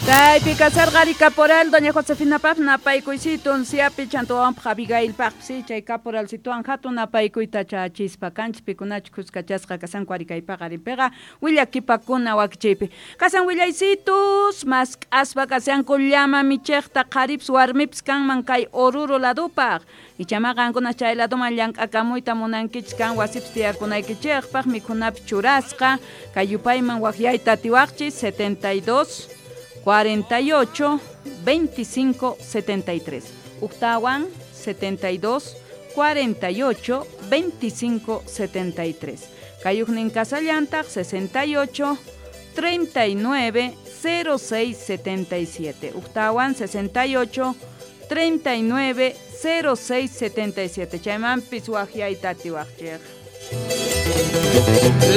Kaypi kasarqa ari caporal doña Josefina paq napaykuysitu siapi chantawanpaq Abigail paq si chay caporalcituwan hatun napaykuyta chachispa kanchis pikunachu khuskachasqa kasanku ari kaypaqa arinpiqa willakipakuna wakichiypi. Kasan willaysitus mask'aspa kashanku llama michiqta qharipis warmipis kanman kay Oruro ladupaq. Ichama qankuna chay laduman llank'akamuyta munankichis kan wasipis tiyakunaykichikpaq mikhunapi churasqa kay yupayman waqyayta atiwaqchis 72 48 25 73. Uktawan 72 48 25 73. Kayuqnin kasallantaq 68 39 06 77. Uktawan 68 39 06 77. Chaymanpis waqyayta atiwaqchik.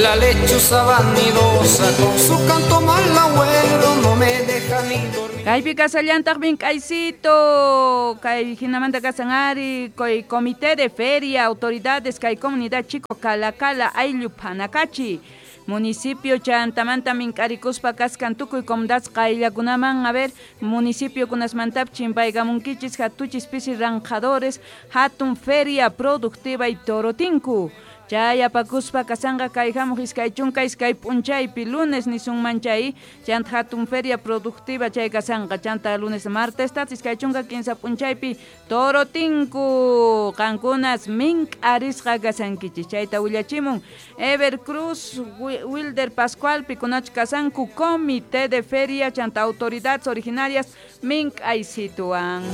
La lechuza vanidosa con su canto malagüero no me deja ni dormir. Kaypi kasallantaq mink'aysito, kay hinamanta kasan ari, kay comité de feria, autoridades, kay comunidad Chico Calacala, ayllu Panacachi, municipio chantamanta mink'arikuspa kaskan tukuy comunidades qayllakunaman, a ver, municipio kunasmantap chimpaykamunkichis, hatuchis pisi ranjadores, hatun feria productiva y torotinku. Chay apakuspa kasanqa kay hamuq iskay chunka iskay p'unchaypi lunes nisunman chay chanta hatun feria productiva chay kasanqa chanta lunes martes tat iskay chunka kinsa p'unchaypi torotinku qankunas mink'arisqa kasankichis chayta willachimun Ever Cruz Wilder Pascual pikunach kasanku comité de feria chanta autoridades originarias mink'aysituwan.